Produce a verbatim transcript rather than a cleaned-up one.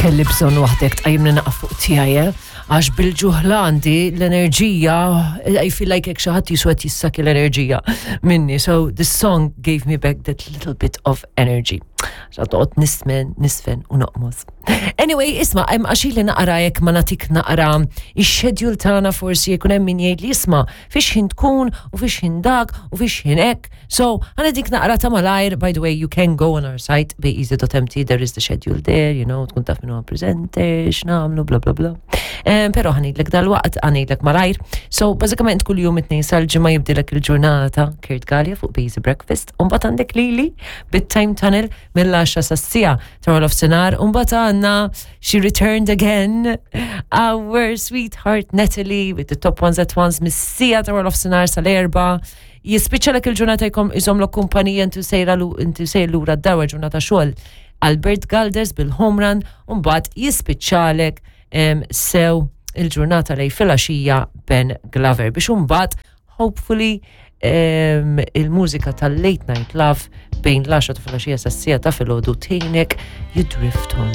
Kelli bżonn waħdek tqajjimni naqaf fuq tiegħi, eh? Għax bil-ġuħ għandi l-enerġija, I feel like hekk xi ħadd jiswa jissakki l-enerġija minni. So this song gave me back that little bit of energy. Għax toqgħod nismen, nisfen u noqmos. Anyway, isma', hemm għaxi li naqra jekk ma nagħtik naqra ix-schedule tagħna, forsi jkun hemm min jgħid li isma' fiex ħin tkun u fiex ħin dak u fiex ħin hekk. So, ħa nagħtik naqra ta' malajr. By the way, you can go on our site, beeasy dot M T, there is the schedule there, you know, tkun taf min huwa presenter, x'nagħmlu, bla bla bla. Um, pero ħa ngħidlek dal-waqt, ħa ngħidlek malajr. So, bażikament kull jum it-Tnejn sal-Ġimgħa jibdilek il-ġurnata Kurt Galea fuq Beezy Breakfast, u mbagħad għandek lili bit-Time Tunnel mill-għaxra sas-siegħa ta' nofsinhar, u mbagħad għandna, she returned again, our sweetheart Natalie with the Top Ones at Ones mis-siegħa ta' nofsinhar sal-erbgħa. Jispiċċalek il-ġurnata, jkom iżomlok kumpanija inti sejra inti sejr lura d-dar ġurnata xogħol Albert Galders bil-home run, u mbagħad jispiċċalek sew il-ġurnata lejn filgħaxija Ben Glover biex imbagħad hopefully um, il-mużika tal-Late Night Love bejn l-għaxra ta' filgħaxija sas-siegħa ta' filgħodu tgħinek you drift on.